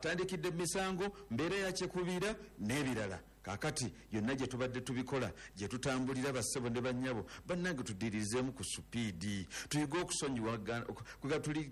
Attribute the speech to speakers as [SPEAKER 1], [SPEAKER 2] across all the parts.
[SPEAKER 1] Tandikidde misango, mbeera yakyekubiira n'ebirala. Kaakati yonna gye tubadde tubikola, gye tutambulira, bassebo ne bannyabo, bannange, tuddirizeemu ku supiidi, tuyige okusonyiwagana,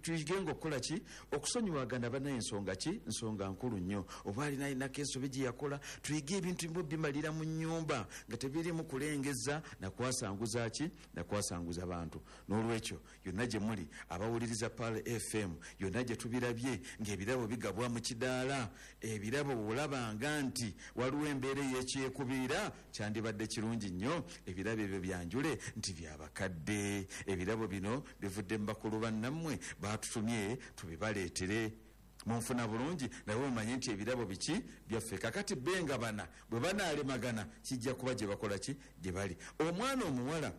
[SPEAKER 1] tuyigenga okukola ki? Okusonyiwagana. Bannaye, ensonga ki? Nsonga nkulu nnyo. Oba alina alinako ensobi gye yakola, tuyige ebintu bimu bimalira mu nnyumba nga tebirimu kulengeza nakwasanguza ki, nakwasanguza bantu. N'olwekyo yonna gye muli abawuliriza Pearl FM, yonna gye tubirabye ng'ebirabo bigabwa mu kidaala, ebirabo bwolabanga nti waliwo embeera eyekyekubiira, kyandibadde kirungi nnyo ebirabo ebyo byanjule nti byabakadde, ebirabo bino bivudde mu bakulu bannammwe, batutumye tubibaleetere. Munfuna bulungi? Naye omanye nti ebirabo biki? Byaffe. Kakati benga bana bwe banaalemagana, kijja kuba gye bakola ki, gye bali. Omwana omuwala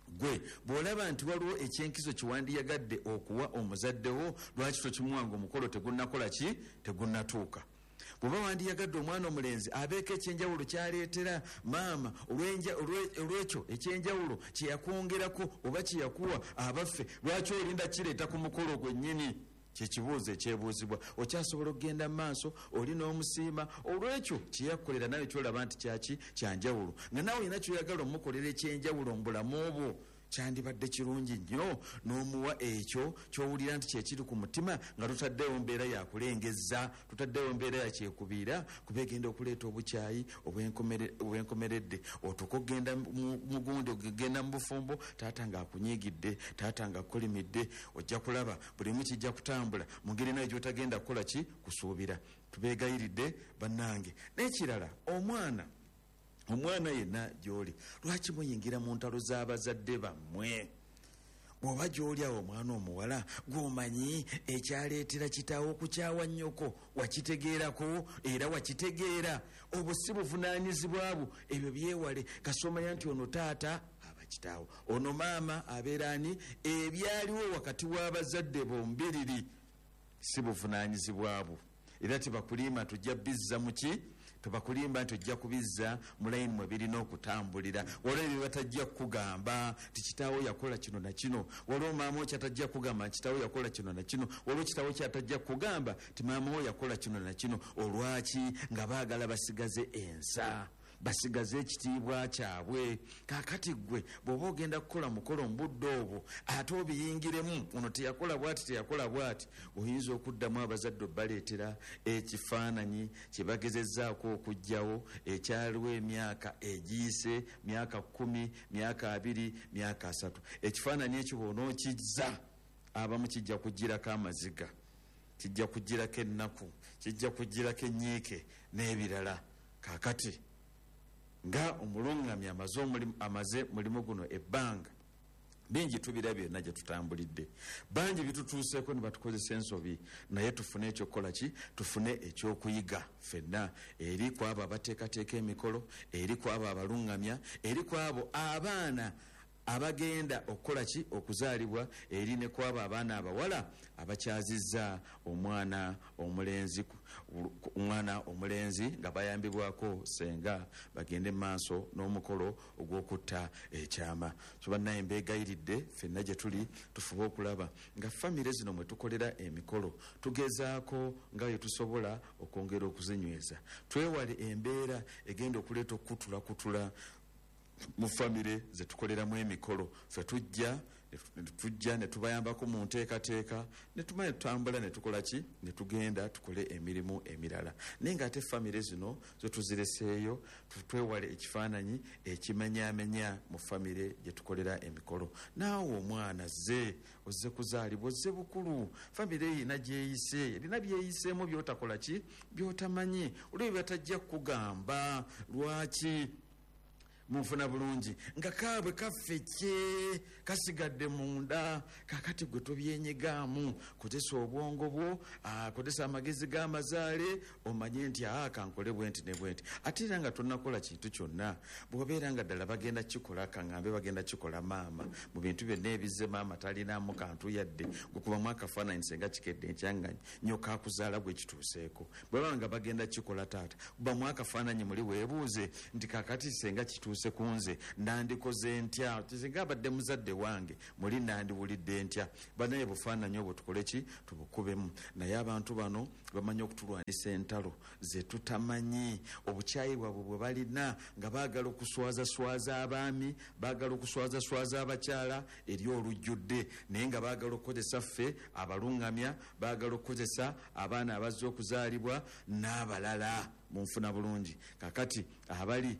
[SPEAKER 1] gwe bw'olaba nti waliwo ekyenkizo kyewandiyagadde okuwa omuzaddewo, lwaki tokimuwanga omukolo tegunnakola ki, tegunnatuuka? Bw'oba wandiyagadde omwana omulenzi abeeko ekyenjawulo kyaleetera maama olwekyo ekyenjawulo kyeyakwongerako oba kyeyakuwa, abaffe lwaki olinda kireeta ku mukolo gwennyini? Kyekibuuzo ekyebuuzibwa. Okyasobola okugenda mu maaso oli n'omusiima olwekyo kyeyakukolera, nawe kyolaba nti kyaki, kyanjawulo, nga naawe olina kyoyagala omukolera ekyenjawulo mu bulamu bwo, kyandibadde kirungi nnyo n'omuwa ekyo kyowulira nti kyekiri ku mutima, nga tutaddewo mbeera yakulengeza, tutaddewo mbeera yakyekubiira, kuba egenda okuleeta obukyayi obwenkomeredde. Otuuka okugenda mugundi, ogenda mu bufumbo, taata ng'akunyiigidde, taata ng'akukolimidde, ojja kulaba bulimu kijja kutambula mu ngeri naye gyotagenda kukola ki, kusuubira. Tubeegayiridde bannange. N'ekirala, omwana yenna gy'oli, lwaki muyingira mu ntalo z'abazadde bammwe? Bw'oba gy'oli awo omwana omuwala, gw'omanyi ekyaleetera kitaawo okukyawa nnyoko, wakitegeerako era wakitegeera, obwo si buvunaanyizibwa bwo, ebyo byewale. Kasomanya nti ono taata aba kitaawo, ono maama abeera ani, ebyaliwo wakati w'abazadde bombiriri si buvunaanyizibwa bwo, era tebakulimba nti ojja bizza muki, tebakulimba nti ojja kubizza mu layini mwe birina okutambulira. Waliwo ebyo batajja kukugamba nti kitaawo yakola kino na kino, waliwo maama wo kyatajja kukugamba nti kitaawo yakola kino na kino, waliwo kitaawo kyatajja kukugamba nti maama wo yakola kino na kino. Olwaki? Nga baagala basigaze ensa, basigaze ekitiibwa kyabwe. Kaakati ggwe bw'oba ogenda kukola mukolo mu budde obwo ate obiyingiremu, ono teyakola bwati, teyakola bwati, oyinza okuddamu abazadde obaleetera ekifaananyi kye bagezezzaako okuggyawo ekyaliwo emyaka egiyise, myaka 10, myaka 20, myaka 30. Ekifaananyi ekyo bw'onookizza, abamu kijja kugirako amaziga, kijja kugirako ennaku, kijja kugirako ennyiike n'ebirala. Kaakati nga omulungamya amaze mulimu guno ebbanga, bingi tubirabye byonna gye tutambulidde, bangi bitutuuseeko ne batukozesa ensobi, naye tufune ekyokukola ki, tufune ekyokuyiga ffenna, eri ku abo abateekateeka emikolo, eri ku abo abalungamya, eri ku abo abaana abagenda okukola ki, okuzaalibwa, eri ne ku abo abaana abawala abakyazizza omwana omulenzi, omwana omulenzi nga bayambibwako senga, bagende mu maaso n'omukolo ogw'okutta ekyama. So bannaye, mbeegayiridde ffenna gye tuli tufube okulaba nga famire zino mwe tukolera emikolo tugezaako nga bwe tusobola okwongera okuzinyweza, twewale embeera egenda okuleeta okukutulakutula mu famire zetukoleramu emikolo. Ffe tujja ne tubayambako mu nteekateeka, ne tumala ne tutambula ne tukola ki, ne tugenda tukole emirimu emirala, naye ng'ate famire zino zo tuzireseeyo. Twewale ekifaananyi ekimenyaamenya mu famire gye tukolera emikolo. Naawe omwana ze ozze kuzaalibwa, ozze bukulu, famire erina gyeyise, erina byeyiseemu byotakola ki, byotamanyi, olwo bye batajja kukugamba. Lwaki? Munfuna bulungi? Nga kaabwe kaffe kye kasigadde munda. Kakati gwe tobyenyigaamu, kozesa obwongo bwo, kozesa amagezi g'amazaale, omanye nti aa kankole bwenti ne bwenti. Ate era nga tonnakola kintu kyonna, bw'obeera nga ddala bagenda kikola, kaŋŋambe bagenda kikola maama, mu bintu byonna ebizze maama talinamu kantu yadde gukubamu akafaananyi, senga kikedde enkya nga nyoka akuzaala gwe kituuseeko, bwebaba nga bagenda kikola taata, kubamu akafaananyi muli weebuuze nti kakati senga kituuse. kituuse ku nze nandikoze ntya, singa abadde muzadde wange muli nandiwulidde ntya. Banaye bufaananyi obwo tukole ki? Tubukubemu. Naye abantu bano bamanyi okutulwanisa entalo zetutamanyi, obukyayi bwabwe bwe balina nga baagala okuswazaswaza abaami, baagala okuswazaswaza abakyala eri olujjudde, naye nga baagala okukozesa ffe abalungamya, baagala okukozesa abaana abazze okuzaalibwa n'abalala. Munfuna bulungi? Kakati abali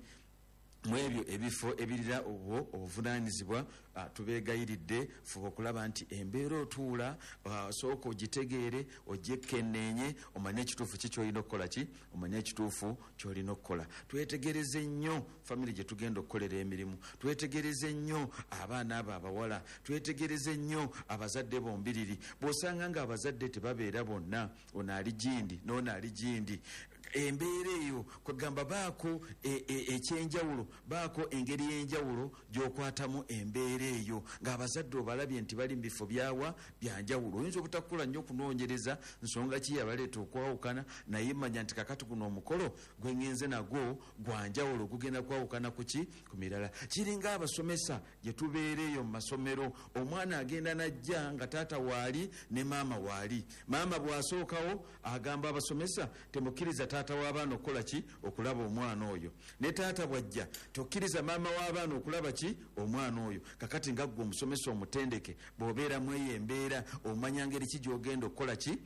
[SPEAKER 1] mu ebyo ebifo ebirira obwo obuvunaanyizibwa, tubeegayiridde, fuba okulaba nti embeera otuula, sooka ogitegeere, ogyekenneenye, omanye ekituufu ki ky'olina okukola ki, omanye ekituufu ky'olina okukola. Twetegereze nnyo famire gye tugenda okukolera emirimu, twetegereze nnyo abaana abo abawala, twetegereze nnyo abazadde bombiriri. Bw'osanga nga abazadde tebabeera bonna, ono ali gindi n'ono ali gindi, embeera eyo kwegamba baako ekyenjawulo, baako engeri y'enjawulo gy'okwatamu embeera eyo ng'abazadde obalabye nti bali mu bifo byawa byanjawulo. Oyinza obutakula nnyo okunoonyereza nsonga ki yabaleeta okwawukana, naye manya nti kakati guno omukolo gwe ŋŋenze nagwo gwanjawulo, gugenda kwawukana ku ki? Ku mirala. Kiringa abasomesa gye tubeera eyo mu masomero, omwana agenda n'ajja nga taata waali ne maama waali. Maama bw'asookawo agamba abasomesa, temukkiriza taata w'abaana okukola ki? Okulaba omwana oyo. Ne taata bw'ajja, tokkiriza maama w'abaana okulaba ki? Omwana oyo. Kakati nga ggwe omusomesa omutendeke, bw'obeera mu eyo embeera omanya ngeri ki gy'ogenda okukola ki,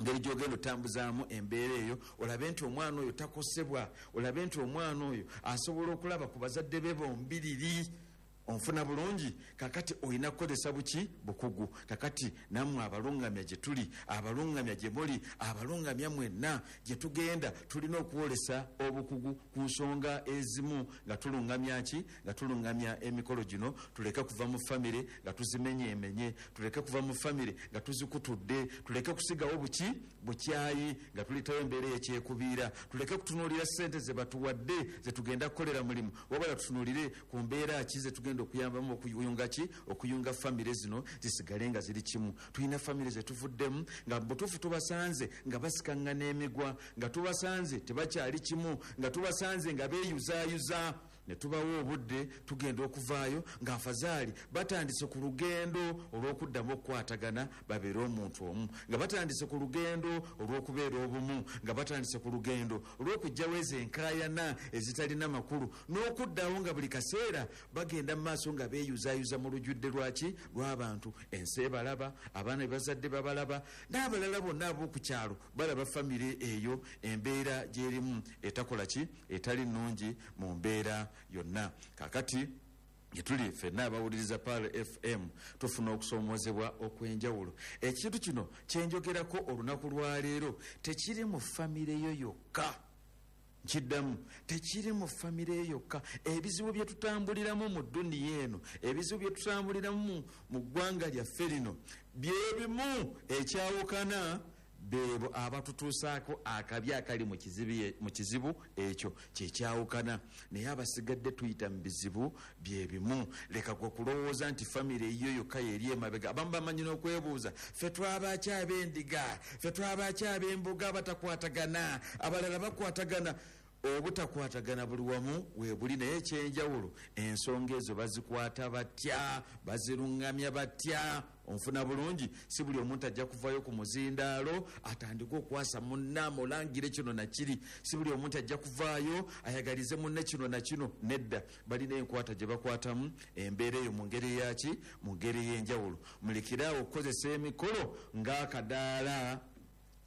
[SPEAKER 1] ngeri gy'ogenda otambuzaamu embeera eyo, olabe nti omwana oyo takosebwa, olabe nti omwana oyo asobola okulaba ku bazadde be bombiriri. Onfuna bulungi? Kakati olina kukozesa buki? Bukugu. Kakati nammwe abalungamya gye tuli, abalungamya gye muli, abalungamya mwenna gye tugenda, tulina okwolesa obukugu ku nsonga ezimu nga tulungamya ki? Nga tulungamya emikolo gino. Tuleke kuva mu famire nga tuzimenyeemenye, tuleke kuva mu famire nga tuzikutudde, tuleke kusigawo buki? Bukyayi nga tuletawo embeera eyekyekubiira, tuleke kutunuulira ssente ze batuwadde ze tugenda kukolera mulimu, wabula tutunuulire ku mbeera ki ze tugenda okuyambamu okuyunga ki? Okuyunga famire zino zisigale nga ziri kimu. Tulina famire zetuvuddemu nga butuufu tubasanze nga basikaŋŋana emigwa, nga tubasanze tebakyali kimu, nga tubasanze nga beeyuzaayuza, ne tubawa obudde, tugenda okuvaayo nga afazaali batandise ku lugendo olw'okuddamu okukwatagana babeere omuntu omu, nga batandise ku lugendo olw'okubeera obumu, nga batandise ku lugendo olw'okuggyawo ezo enkaayana ezitalina makulu, n'okuddawo nga buli kaseera bagenda mu maaso nga beeyuzaayuza mu lujjudde lwaki? Lw'abantu. Ensi ebalaba, abaana be bazadde babalaba, n'abalala bonna ab'oku kyalo balaba famire eyo embeera gy'erimu etakola ki? Etali nnungi mu mbeera yonna. Kakati gyetuli ffenna abawuliriza Pearl FM tufuna okusoomozebwa okw'enjawulo. Ekintu kino kyenjogerako olunaku lwaleero tekiri mu famire yo yokka, nkiddamu, tekiri mu famire yo yokka. Ebizibu bye tutambuliramu mu dduniya eno, ebizibu bye tutambuliramu mu ggwanga lyaffe lino byebimu, ekyawukana beebo abatutuusaako akabi akali mu kizibu ekyo kyekyawukana, naye abasigadde tuyita mu bizibu byebimu. Leka gwe kulowooza nti famire eyiyo yokka yeri emabega. Abamu bamanyi n'okwebuuza, ffe twabaaki ab'endiga, ffe twabaaki ab'embuga abatakwatagana, abalala bakwatagana. Obutakwatagana buli wamu weebuli, naye ekyenjawulo ensonga ezo bazikwata batya, baziruŋŋamya batya? Onfuna bulungi? Si buli omuntu ajja kuvayo ku muzindaalo atandike okwasa munne amulangire kino na kiri, si buli omuntu ajja kuvaayo ayagalize munne kino na kino. Nedda, balina enkwata gye bakwatamu embeera eyo mu ngeri eyaki? Mu ngeri ey'enjawulo. Mulekere awo okukozesa emikolo ng'akadaala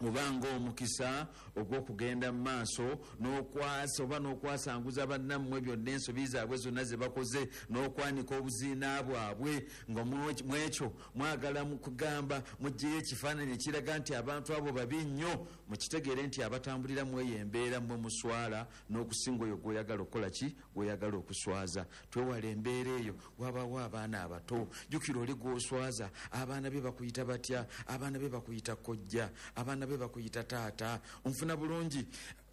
[SPEAKER 1] oba ng'omukisa ogw'okugenda mu maaso n'okwasa oba n'okwasanguza bannammwe byonna ensobi zaabwe zonna ze bakoze n'okwanika obuziina bwabwe, nga mwekyo mwagala kugamba muggyeyo ekifaananyi ekiraga nti abantu abo babi nnyo. Mukitegeere nti abatambulira mu eyo embeera mmwe muswala n'okusinga oyo gw'oyagala okukola ki? Gw'oyagala okuswaza. Twewale embeera eyo. Wabawo abaana abato, jjukira oli gw'oswaza, abaana be bakuyita batya? Abaana be bakuyita kojja, abaana be bakuyita taata. Onfuna bulungi?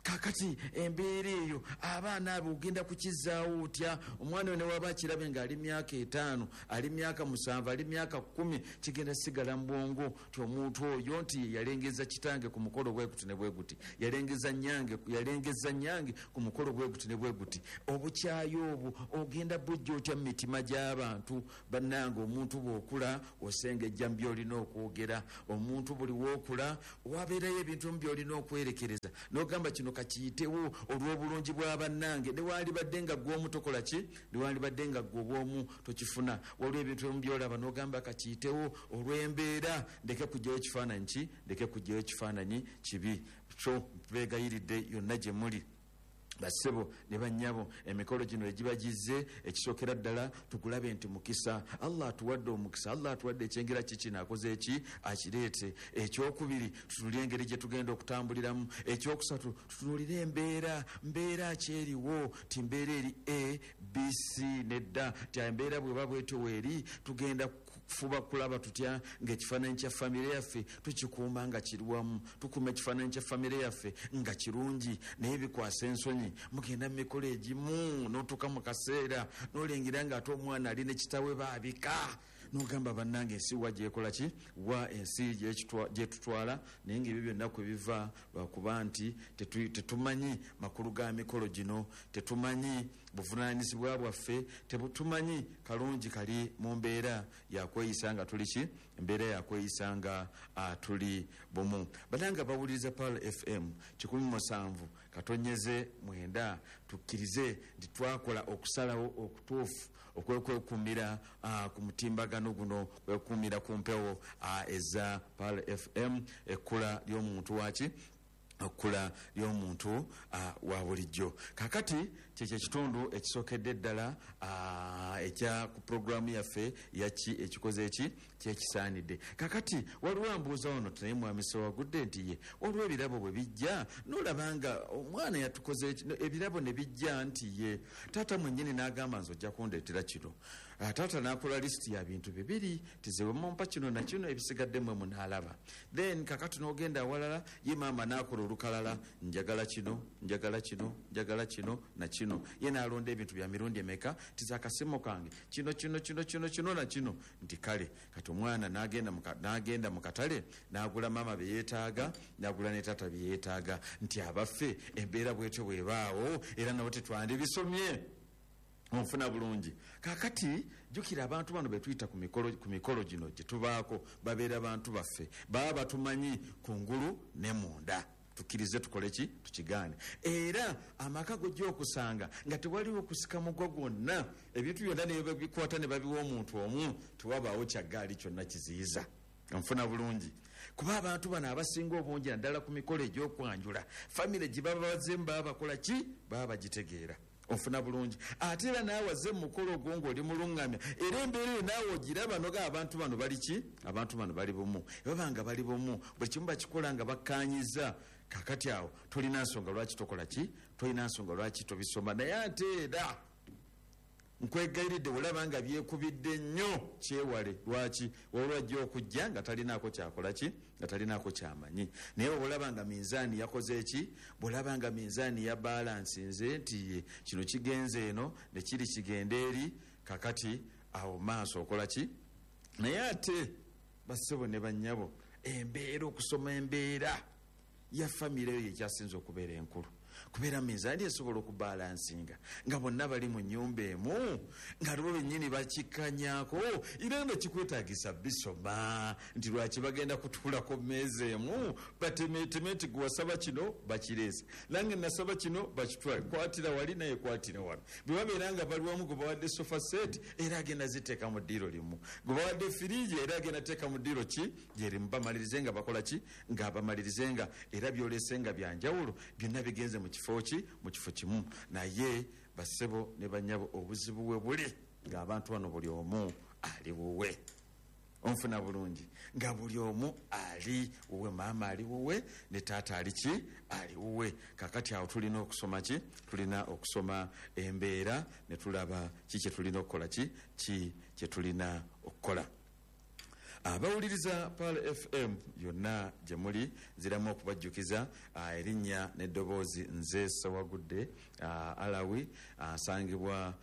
[SPEAKER 1] Kakati embeera eyo abaana abo ogenda kukizaawo otya? Omwana oyo newaba akirabe nga ali myaka 5, ali myaka 7, ali myaka 10, kigenda sigala mu bwongo ti omuntu oyo nti yalengeza kitange ku mukolo bwe guti ne bwe guti, yalengeza nyange ku mukolo bwe guti ne bwe guti. Obukyayi obwo ogenda bujja otya mu mitima gy'abantu? Bannange, omuntu bw'okula osengejja mu by'olina okwogera, omuntu buli w'okula wabeerayo ebintu mu by'olina okwerekereza n'ogamba kino kakiyitewo olw'obulungi bwa bannange. Newandibadde nga ggwe omu tokola ki, newandibadde nga ggwe obw'omu tokifuna, waliwo ebintu ebimu by'olaba n'ogamba kakiyitewo olw'embeera, ndeke kuggyayo ekifaananyi ki, ndeke kuggyayo ekifaananyi kibi. So beegayiridde yonna gye muli bassebo ne bannyabo, emikolo gino egiba gizze, ekisookera ddala tugulabe nti mukisa. Allah atuwadde omukisa, Allah atuwadde ekyengera kiki naakoze eki akireete. Ekyokubiri tutunulire engeri gye tugenda okutambuliramu. Ekyokusatu tutunulire embeera, mbeera ki eriwo, ti mbeera eri A, B, C nedda, ti embeera bweba bwetyo weeri, tugenda kufuba kulaba tutya ng'ekifaananyi kya famire yaffe tukikuuma nga kiri wamu, tukuuma ekifaananyi kya famire yaffe nga kirungi. Naye bikwasa ensonyi, mugenda mu mikolo egimu n'otuuka mu kaseera n'olengera ng'ate omwana ali ne kitaawe baabika, n'ogamba bannange ensi wa gyekola ki, wa ensi gyetutwala. Naye ng'ebyo byonna kwe biva lwakuba nti tetumanyi makulu ga mikolo gino, tetumanyi buvunaanyizibwa bwaffe, tetumanyi kalungi kali mu mbeera yakweyisa nga tuli ki, embeera yakweyisa nga tuli bumu. Bannange bawuliriza Pearl FM 107.9, tukkirize nti twakola okusalawo okutuufu okwekwekuumira ku mutimbagano guno, kwekuumira ku mpewo eza Pearl FM, ekkula ly'omuntu waki, ekkula ly'omuntu wa bulijjo. Kakati kyekyo ekitundu ekisookedde ddala ekya ku pulogulaamu yaffe yaki ekikoze eki kyekisaanidde. Kakati waliwo ambuuza wano naye mwami Ssewagudde nti ye waliwo ebirabo bwe bijja n'olaba nga omwana yatukoze ebirabo ne bijja nti ye taata mwennyini n'agamba nze ojja kundeetera kino. Taata n'akola lisiti ya bintu bibiri, tizewe mumpa kino na kino, ebisigadde mmwe munaalaba. Then kakati n'ogenda awalala ye maama n'akola olukalala, njagala kino, njagala kino, njagala kino na kino. Ye n'alonda ebintu bya mirundi emeka, tize akasimu kange kino kino kino kino kino na kino. Nti kale kati omwana n'agenda mu katale n'agula maama bye yeetaaga, n'agula ne taata bye yeetaaga. Nti abaffe embeera bwetyo bwebaawo, era nabo tetwandibisomye. Onfuna bulungi. Kakati jjukira abantu bano betuyita ku mikolo gino gye tubaako, babeera bantu baffe, baba batumanyi kungulu ne munda. Tukkirize tukole ki, tukigaane. Era amaka gojja okusanga nga tewaliwo kusika mugwa gwonna, ebintu byonna ne babikwata ne babiwa omuntu omu, tewabaawo kyaggaali kyonna kiziyiza. Nfuna bulungi. Kuba abantu bano abasinga obungi naddala ku mikolo egy'okwanjula, famire gye baba bazzeemu baba bakola ki, baba bagitegeera. Onfuna bulungi. Ate era naawe azze mu mukolo ogwo ng'oli mulungamya, era embeera eyo naawe ogiraba noga abantu bano bali ki, abantu bano bali bumu. Baba nga bali bumu, buli kimu bakikola nga bakkaanyiza. Kakati awo tolina nsonga lwaki tokola ki, tolina nsonga lwaki tobisoma. Naye ate era nkwegayiridde olaba nga byekubidde nnyo, kyewale. Lwaki? Waliwo ajja okujja nga talinaako kyakola ki, nga talinaako kyamanyi. Naye bw'olaba nga minzaani yakoze ki, bw'olaba nga minzaani ya balansinze nti ye kino kigenze eno ne kiri kigende eri, kakati awo maaso okola ki. Naye ate bassebo ne bannyabo, embeera, okusoma embeera ya famire eyo ekyasinze okubeera enkulu, kubeera minzaani esobola okubalansinga nga bonna bali mu nnyumba emu, nga lwo bennyini bakikkanyaako. Era nga kikwetaagisa bisoma nti lwaki bagenda kutuula ku mmeeza emu batemeeteme nti gwe wasaba kino bakireese, nange nasaba kino bakitwale, kwatira wali naye kwatira wano. Bwe babeera nga bali wamu, gwe bawadde sofa set era agenda ziteeka mu ddiiro limu, gwe bawadde firiji era agenda teeka mu ddiiro ki gyerimu, bamalirize nga bakola ki, nga bamalirize nga era byolese nga byanjawulo, byonna bigenze mu kifo ki, mu kifo kimu. Naye bassebo ne bannyabo, obuzibu we buli ng'abantu bano buli omu ali wuwe. Onfuna bulungi, nga buli omu ali wuwe, maama ali wuwe ne taata ali ki, ali wuwe. Kakati awo tulina okusoma ki, tulina okusoma embeera ne tulaba ki kye tulina okukola, ki kye tulina okukola. Abawuliriza Pearl FM yonna gye muli, nziramu okubajjukiza erinnya n'eddoboozi. Nze Sewagudde Alawi, asangibwa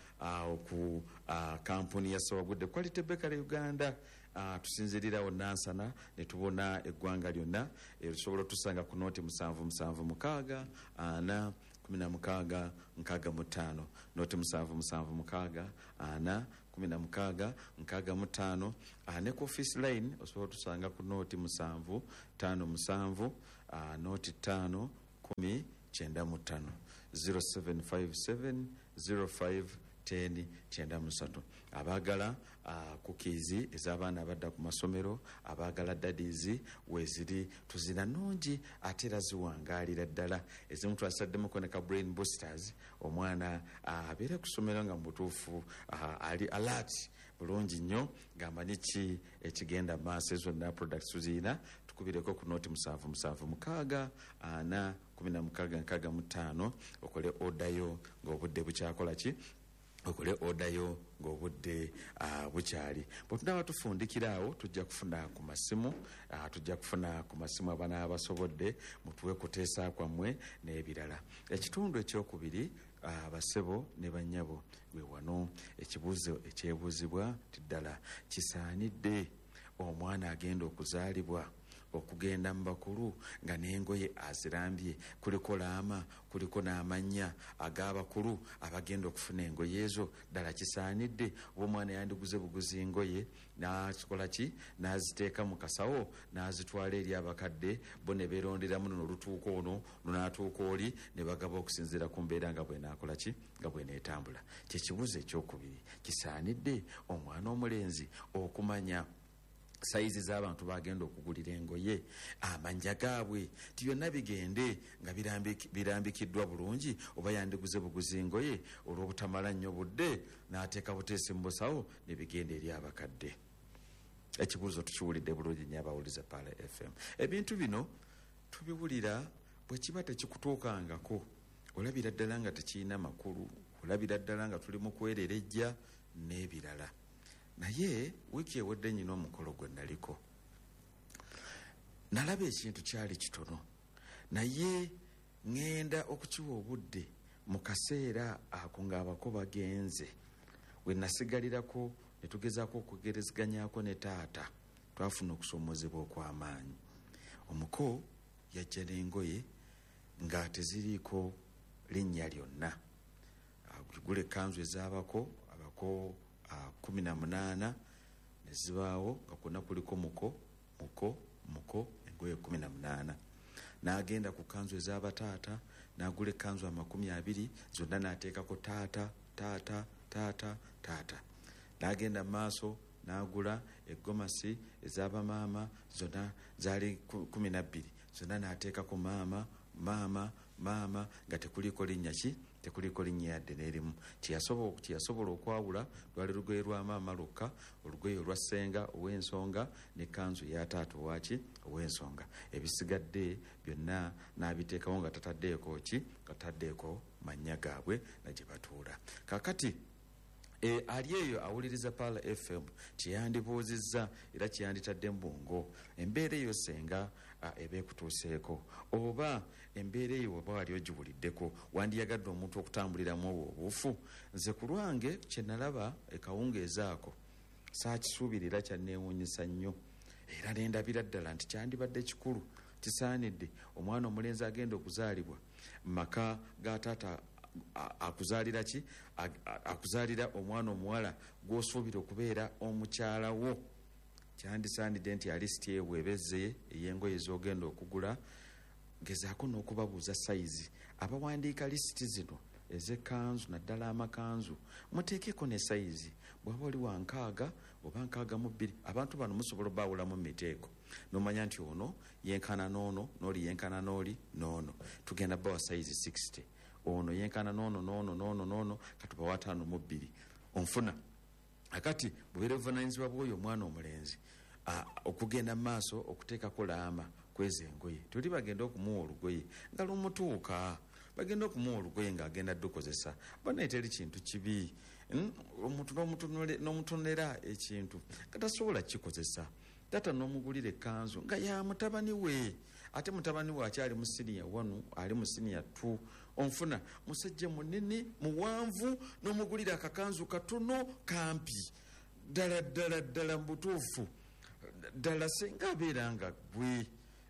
[SPEAKER 1] ku kampuni ya Sewagudde Quality Bakery Uganda. Tusinzirirawo Nansana ne tubona eggwanga lyonna. Tusobola otusanga ku noti 776 4 16 65, noti 776 4 16 65. Ne ku office line osobola otusanga ku noti 757, noti 5 10 95, 0757 05 10 93. Abaagala cookies ez'abaana abadda ku masomero, abaagala daddies, weziri, tuzina nungi ate era ziwangaalira ddala. Ezimu twasaddemukko ne ka brain boosters, omwana abeere ku ssomero nga mu butuufu ali alert bulungi nnyo, ng'amanyi ki ekigenda mu maaso. Ezo zonna products tuzirina. Tukubireko ku noti 776 4 16 65, okole odayo ng'obudde bukyakola ki, okole odayo ng'obudde bukyali. Bwe tunaaba tufundikira awo, tujja kufuna ku masimu, tujja kufuna ku masimu abanaaba basobodde, mutuwe kuteesa kwammwe n'ebirala. Ekitundu ekyokubiri, basebo ne bannyabo, gwe wano ekibuuzo ekyebuuzibwa ti ddala kisaanidde omwana agenda okuzaalibwa okugenda mu bakulu nga n'engoye azirambye, kuliko laama, kuliko n'amannya ag'abakulu abagenda okufuna engoye ezo? Ddala kisaanidde oba omwana yandiguze buguzi ngoye, n'akikola ki, n'aziteeka mu kasawo, n'azitwala eri abakadde bo ne beeronderamu, luno olutuuka ono, lunaatuuka oli, ne bagaba okusinziira ku mbeera nga bwenaakola ki, nga bweneetambula? Kyekibuuzo ekyokubiri. Kisaanidde omwana omulenzi okumanya sayizi z'abantu bagenda okugulira engoye, amanja gaabwe, ti byonna bigende nga birambikiddwa bulungi, oba yandiguze buguzi ngoye olw'obutamala nnyo budde, n'ateeka buteesi mu busawo ne bigenda eri abakadde? Ekibuuzo tukiwulidde bulungi nnyo. Abawuliza Pearl FM, ebintu bino tubiwulira. Bwe kiba tekikutuukangako, olabira ddala nga tekirina makulu, olabira ddala nga tuli mu kwererejja n'ebirala. Naye wiiki ewedde nyina omukolo gwe naliko, nalaba ekintu kyali kitono, naye ŋŋenda okukiwa obudde mu kaseera ako ng'abako bagenze, we nasigalirako ne tugezaako okugerezeganyako ne taata. Twafuna okusoomozebwa okw'amaanyi. Omuko yajja n'engoye nga teziriiko linnya lyonna. Gula ekkanzu ez'abako, abako 18, ne zibaawo nga kwonna kuliko muko, muko, muko, engoye 18. N'agenda ku kkanzu ez'abataata, n'agula ekkanzu 20, zonna n'ateekako taata, taata, taata, taata. N'agenda mu maaso n'agula eggomasi ez'abamaama, zonna zaali 12, zonna n'ateekako maama, maama, maama, nga tekuliiko linnya ki, tekuliiko linnya yadde n'erimu. Kyeyasobola okwawula lwali lugoye lwa maama lwokka, olugoye olwa ssenga ow'ensonga n'ekkanzu ya taata owaki, ow'ensonga. Ebisigadde byonna n'abiteekawo nga tataddeeko ki, nga tataddeeko mannya gaabwe na gye batuula. Kaakati ali eyo awuliriza Pearl FM, kyeyandibuuzizza era kyeyanditadde mu bwongo, embeera eyo senga eba ekutuuseeko, oba embeera eyo oba wali ogiwuliddeko, wandiyagadde omuntu okutambuliramu obwo obuufu? Nze ku lwange kye nalaba ekawungeezi ako saakisuubira era kyanneewuunyisa nnyo, era nendabira ddala nti kyandibadde kikulu, kisaanidde omwana omulenzi agenda okuzaalibwa mu maka ga taata akuzaalira ki, akuzaalira omwana omuwala gw'osuubira okubeera omukyala wo, kyandisaanidde nti alisiti eyo bw'eba ezze ey'engoye z'ogenda okugula, gezaako n'okubabuuza sayizi. Abawandiika lisiti zino ez'ekkanzu, naddala amakanzu, muteekeko ne sayizi. Bw'aba oli wa 60 oba 62, abantu bano musobola obaawulamu mu miteeko n'omanya nti ono yenkana n'ono, n'oli yenkana n'oli n'ono, tugenda bawa sayizi 60, ono yenkana n'ono n'ono n'ono n'ono, katubawa 52. Onfuna? Akati bubeera buvunaanyizibwa bw'oyo omwana omulenzi okugenda mu maaso okuteekako laama kweza engoye. Toli bagenda okumuwa olugoye nga lumutuuka, bagenda okumuwa olugoye ng'agenda ddukozesa. Banaye teri kintu kibi, omuntu n'omutonera ekintu nga tasobola kikozesa. Taata n'omugulira ekkanzu nga ya mutabani we, ate mutabani we akyali mu siniya 1, ali mu siniya 2. Onfuna musajja munene muwanvu, n'omugulira akakanzu katono kampi. Ddala ddala ddala mu butuufu ddala singa abeera nga ggwe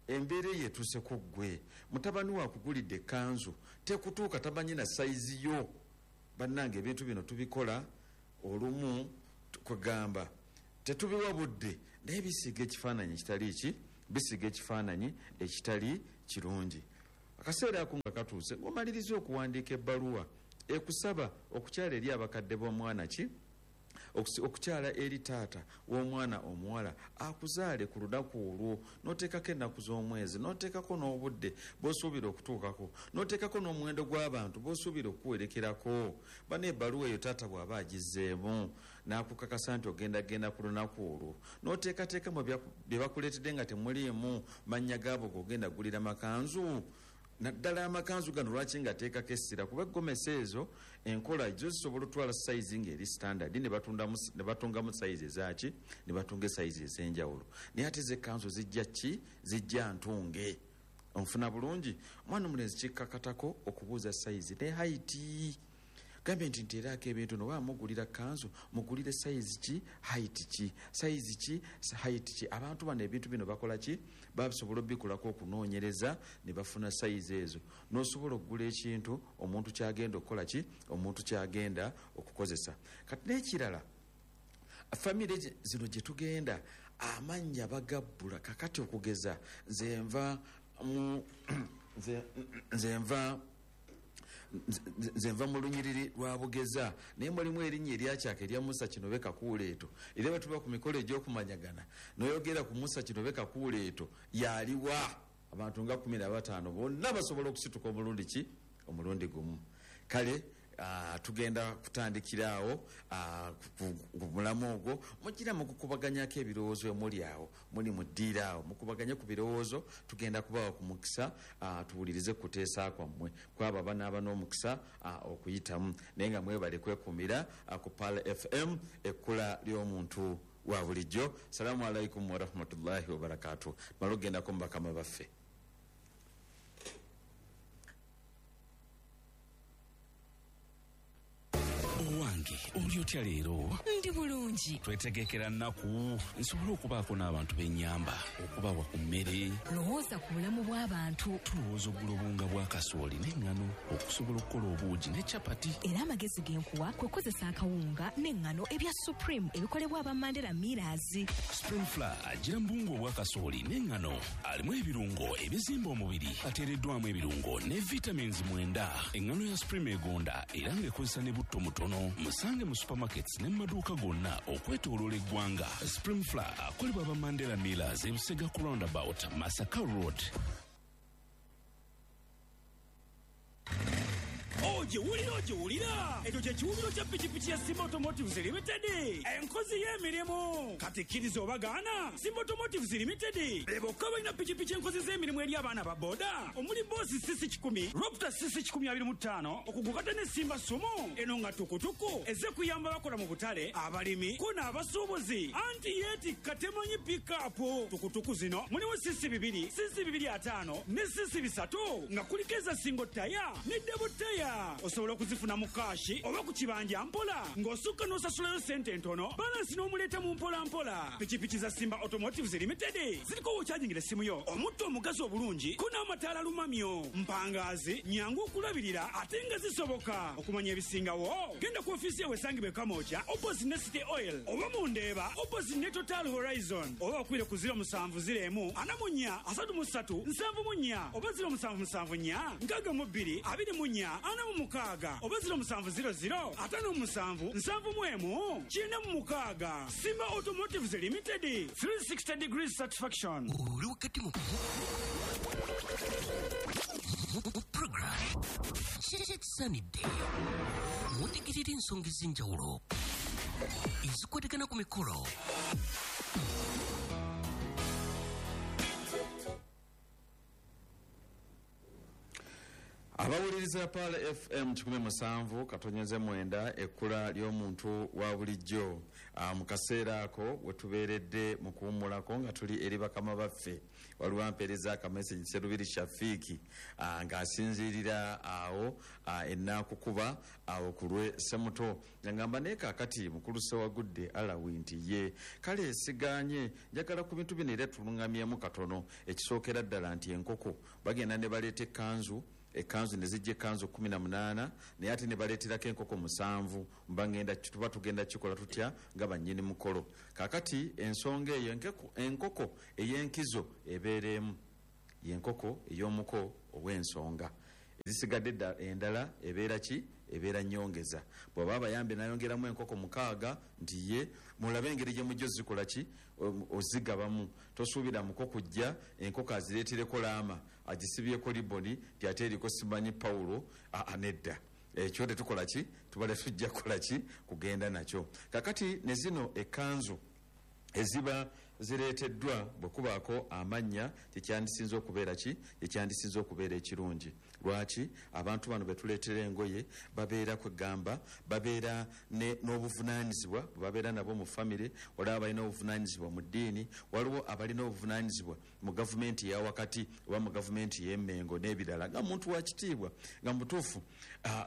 [SPEAKER 1] embeera eyo etuuse ku ggwe, mutabani we akugulidde ekkanzu tekutuuka, tamanyi na sayizi yo. Bannange ebintu bino tubikola olumu kwegamba tetubiwa budde, naye bisiiga ekifaananyi ekitali ki, bisiiga ekifaananyi ekitali kirungi. Akaseera ako nga katuuse, ng'omaliriza okuwandiika ebbaluwa ekusaba okukyala eri abakadde b'omwana ki, okukyala eri taata w'omwana omuwala akuzaale ku lunaku olwo, n'oteekako ennaku z'omwezi, n'oteekako n'obudde bw'osuubira okutuukako, n'oteekako n'omuwendo gw'abantu bw'osuubira okuwerekerako. Bano ebbaluwa eyo taata bw'aba agizzeemu n'akukakasa nti ogenda genda ku lunaku olwo, n'oteekateeka mu bye bakuleetedde nga temuliimu mannya gaabo g'ogenda gulira makanzu. Naddala amakanzu gano lwaki nga ateekako essira, kuba egomesi ezo enkola zo zisobola otwala sayizi ng'eri standard ne batungamu sayizi ezaaki, ne batunga esayizi ez'enjawulo, naye ate z'ekkanzu zijja ki, zijja ntunge. Onfuna bulungi? Omwana omulenzi kikkakatako okubuuza sayizi ne haiti. Gambye nti nteeraako ebintu noba mugulira kanzu, mugulire sayizi ki, haiti ki, sayizi ki, haiti ki. Abantu bano ebintu bino bakola ki, basobola obikolako okunoonyereza ne bafuna sayizi ezo, n'osobola okugula ekintu omuntu kyagenda okukola ki, omuntu kyagenda okukozesa. Kati n'ekirala, famire zino gye tugenda amannya bagabbula. Kakati okugeza nze nva mu lunyiriri lwa Bugeza, naye mulimu erinnya eryakyaka erya Musa Kinobe Kakuuleeto, era bwe tuba ku mikolo egy'okumanyagana n'oyogera ku Musa Kinobe Kakuuleeto yaliwa, abantu nga 15 bonna basobola okusituka omulundi ki, omulundi gumu. Kale tugenda kutandikira awo ku mulamu ogwo, mugira mukukubaganyako ebirowoozo emuli awo, muli mu ddiiro awo mukubaganye ku birowoozo. Tugenda kubawa ku mukisa tuwulirize kuteesa kwammwe kwabo abanaaba n'omukisa okuyitamu, naye nga mwebale kwekumira ku Pearl FM, ekkula ly'omuntu wa bulijjo. Salaamu alaikum warahmatullahi wabarakatuh. Tumale okugendako mu bakama baffe.
[SPEAKER 2] Owange, oli otya leero?
[SPEAKER 3] Ndi bulungi.
[SPEAKER 2] Twetegekera nnaku nsobole okubaako n'abantu b'ennyamba, okubawa ku mmere.
[SPEAKER 3] Lowooza ku bulamu bw'abantu.
[SPEAKER 2] Tulowooza okugula obuwunga bwa kasooli n'eŋŋano okusobola okukola obuugi ne capati.
[SPEAKER 3] Era amagezi ge nkuwa kwe kukozesa akawunga n'eŋŋano ebya Supreme ebikolebwa aba Mandela Millers.
[SPEAKER 2] Supreme Flour agira mu buwunga obwa kasooli n'eŋŋano, alimu ebirungo ebizimba omubiri, ateereddwamu ebirungo ne vitamins 9. Eŋŋano ya Supreme egonda era ng'ekozesa ne butto mutono. Musange mu supermarkets ne mu maduuka gonna okwetooloola eggwanga. Supreme Flour akolebwa aba Mandela Millers e Busega ku roundabout Masaka Road.
[SPEAKER 4] Ogiwulira, ogiwulira, ekyo kye kiwubiro kya pikipiki ya Simba Automotives Limited, enkozi y'emirimu. Kati kkiriza obagaana, Simba Automotives Limited be bokka balina pikipiki enkozi z'emirimu eri abaana ba boda, omuli Boss CC 100, Raptor CC 125, okugukata ne Simba Sumo eno nga tukutuku ezze kuyamba abakola mu butale, abalimi ko n'abasuubuzi. Anti yeetikka temanyi pikapu. Tukutuku zino mulimu CC 2, CC 25 ne CC 3, nga kuliko eza single taya ne double taya. Osobola okuzifuna mu kaashi oba ku kibanja mpola, ng'osukka n'osasulayo sente entono, balansi n'omuleeta mu mpola mpola. Pikipiki za Simba Automotives Limited ziriko w'okyajingira essimu yo, omutto omugazi obulungi ko n'amataala lumamyo, mpangaazi, nyangu okulabirira ate nga zisoboka. Okumanya ebisingawo genda ku ofiisi yawe esangibwa e Kamwokya opposite ne City Oil, oba mu Ndeeba opposite ne Total Horizon, oba bakubire ku 0701 44 33 74 oba 0774 62 24 46 oba 0700 57 71 96. Simba Automotives Limited, 360 degrees satisfaction.
[SPEAKER 5] Oli wakati mu program kyekisaanidde mutegerera ensonga ez'enjawulo ezikwatagana ku mikolo.
[SPEAKER 1] Abawuliriza Pearl FM 107.9, ekkula ly'omuntu wa bulijjo. Mu kaseera ako we tubeeredde mu kuwummulako nga tuli eri bakama baffe, waliwo ampeereza akamesegi Serubiri Shafiiki, ng'asinziirira awo enaakukuba awo ku lwe Semuto, ngamba naye kaakati mukulu Sewagudde Alawi nti ye kale siganye, njagala ku bintu bino era tuluŋŋamyemu katono. Ekisookera ddala nti enkoko bagenda ne baleeta ekkanzu, ekkanzu ne zijja ekkanzu 18, naye ate ne baleeterako enkoko 7. Mba ngenda tuba tugenda kikola tutya nga bannyini mukolo? Kaakati ensonga eyo, enkoko ey'enkizo ebeera emu, y'enkoko ey'omuko ow'ensonga. Ezisigadde endala ebeera ki? Ebeera nnyongeza. Bw'aba abayambe n'ayongeramu enkoko 6, nti ye mulabe engeri gye mujja ozikola ki, ozigabamu. Tosuubira muko kujja enkoko azireetereko laama agisibyeko liboni nti ate eriko simanyi Pawulo. Aa, nedda, ekyo tetukola ki, tubale tujja kukola ki, kugenda nakyo. Kakati ne zino ekkanzu eziba zireeteddwa bwe kubaako amannya, kyekyandisinze okubeera ki, kyekyandisinze okubeera ekirungi. Lwaki abantu bano betuleetera engoye babeera kwegamba babeera n'obuvunaanyizibwa bwe babeera nabo mu famire, waliwo abalina obuvunaanyizibwa mu ddiini, waliwo abalina obuvunaanyizibwa mu gavumenti eya wakati oba mu gavumenti ey'Emmengo n'ebirala. Nga muntu wa kitiibwa, nga mutuufu,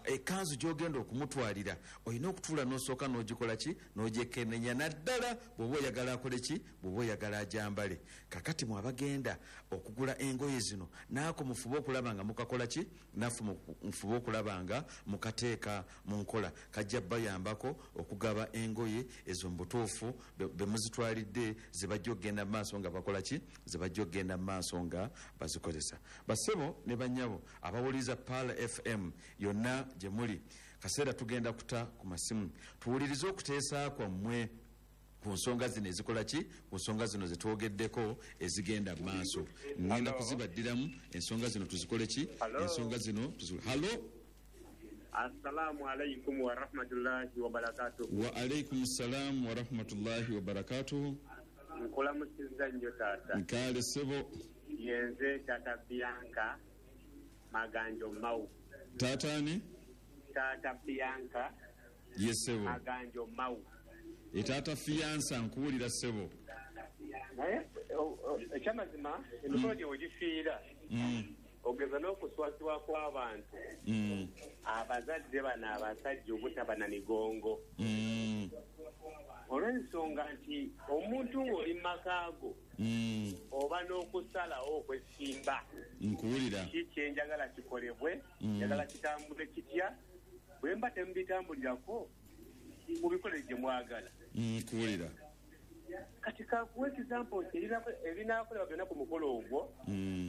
[SPEAKER 1] ekkanzu gy'ogenda okumutwalira olina okutuula n'osooka n'ogikola ki, n'ogyekenneenya, naddala bw'oba oyagala akole ki, bw'oba oyagala ajambale. Kakati mwe abagenda okugula engoye zino, naako mufube okulaba nga mukakola ki, naffe mufube okulaba nga mukateeka mu nkola, kajja bayambako okugaba engoye ezo mu butuufu be muzitwalidde, ze bajja okugenda mu maaso nga bakola ki, ze bajja okugenda mu maaso nga bazikozesa. Bassebo ne bannyabo abawuliriza Pearl FM yonna gye muli, kaseera tugenda kuta ku masimu tuwulirize okuteesa kwammwe ku nsonga zino ezikola ki, ku nsonga zino zetwogeddeko ezigenda mu maaso. Ngenda kuzibaddiramu ensonga zino tuzikole ki, ensonga zino tuzikole. Hallo.
[SPEAKER 6] Assalamu alaikum wa rahmatullahi wa barakatuh.
[SPEAKER 1] Wa alaikum salam wa rahmatullahi wa barakatuh.
[SPEAKER 6] Nkulamusizza nnyo taata.
[SPEAKER 1] Nkaale ssebo.
[SPEAKER 6] Yenze taata Bianca Maganjo Mau.
[SPEAKER 1] Taata ani?
[SPEAKER 6] Taata Bianca.
[SPEAKER 1] Ye ssebo.
[SPEAKER 6] Maganjo Mau.
[SPEAKER 1] Etaata fiyansa, nkuwulira ssebo.
[SPEAKER 6] Naye ekyamazima emikolo gye wegifiira ogeza n'okuswazibwa kw'abantu, abazadde bano abasajja obutaba na migongo, olw'ensonga nti omuntu ng'oli mu maka go oba n'okusalawo okwesimba.
[SPEAKER 1] Nkuwulira.
[SPEAKER 6] Ki kyenjagala kikolebwe, njagala kitambule kitya, bwe mba temubitambulirako mubikole gye mwagala.
[SPEAKER 1] Nkuwulira.
[SPEAKER 6] Kati kakuwa example nti ebinaakolebwa byonna ku mukolo ogwo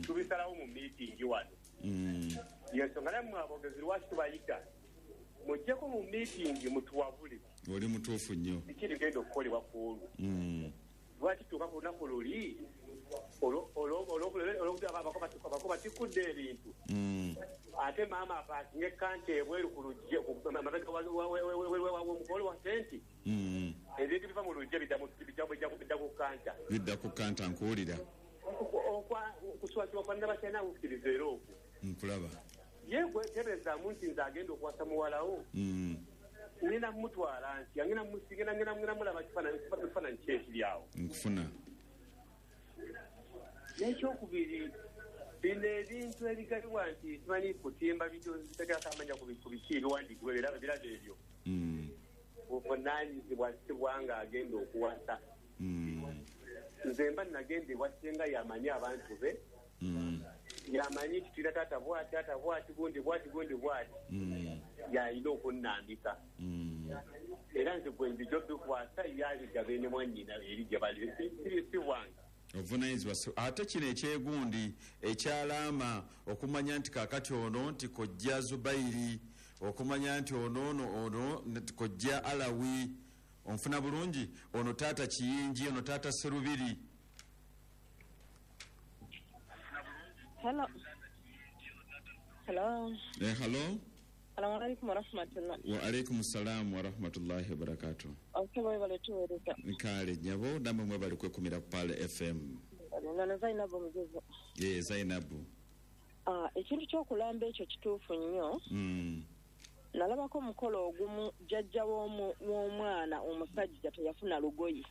[SPEAKER 6] tubisalawo mu miitingi wano. Yensonga nammwe aboogezi lwaki tubayita, mujjeko mu miitingi mutuwabule.
[SPEAKER 1] Oli mutuufu nnyo.
[SPEAKER 6] Biki ebigenda okukolebwa ku olwo? Lwaki tuuka ku lunaku luli olwokuti abako batikudde ebintu, ate maama apaakinga ekkanta ebweru ku luggi amabega w'omukolo waffe nti ebintu biva mu luggi bidda ku kkanta,
[SPEAKER 1] bidda ku kkanta. Nkuwulira.
[SPEAKER 6] Okuswazibwa kwa nnabakyalina kukkiriza era okwo.
[SPEAKER 1] Nkulaba.
[SPEAKER 6] Ye gwe tebeezaamu nti nze agenda okuwasa muwalawo, ngenda mumutwala ntya, ngenda musigenda, ngenda mulaba kifaananyi ki ekiri awo.
[SPEAKER 1] Nkufuna.
[SPEAKER 6] N'ekyokubiri, bino ebintu ebigabibwa nti simanyi kutimba bitegerako amanya ku biki ebiwandiikibwa era birabo ebyo, buvunaanyizibwa si bwanga agenda okuwasa. Nze mba nagenda ewa ssenga, yamanyi abantu be, yamanyi nti tulina taata bwati, taata bwati, gundi bwati, gundi bwati, yalina okunnambika. Era nze gwe nzija obikwasa, yabigabe ne mwannyina eri gye bali, si bwange.
[SPEAKER 1] Ovunaanyizibwa. Ate kino ekyegundi ekyalaama okumanya nti kaakati ono nti kojja Zubairi, okumanya nti ono ono nti kojja Alawi, onfuna bulungi, ono taata Kiyingi, ono taata Serubiri.
[SPEAKER 7] Hello. Hello.
[SPEAKER 1] Hello.
[SPEAKER 7] Assalamu alaikum warahmatullah.
[SPEAKER 1] Wa alaikum salam wa rahmatullahi wa barakatuh.
[SPEAKER 7] Osebo webale tuweereza.
[SPEAKER 1] Nkale nnyabo, nammwe mwebale kwekumira ku Pearl FM.
[SPEAKER 7] Nano Zainabu Mujuzi.
[SPEAKER 1] Ye Zainabu.
[SPEAKER 7] Ekintu ky'okulamba ekyo kituufu nnyo. Nalabako omukolo ogumu jjajja w'omwana omusajja teyafuna lugoye.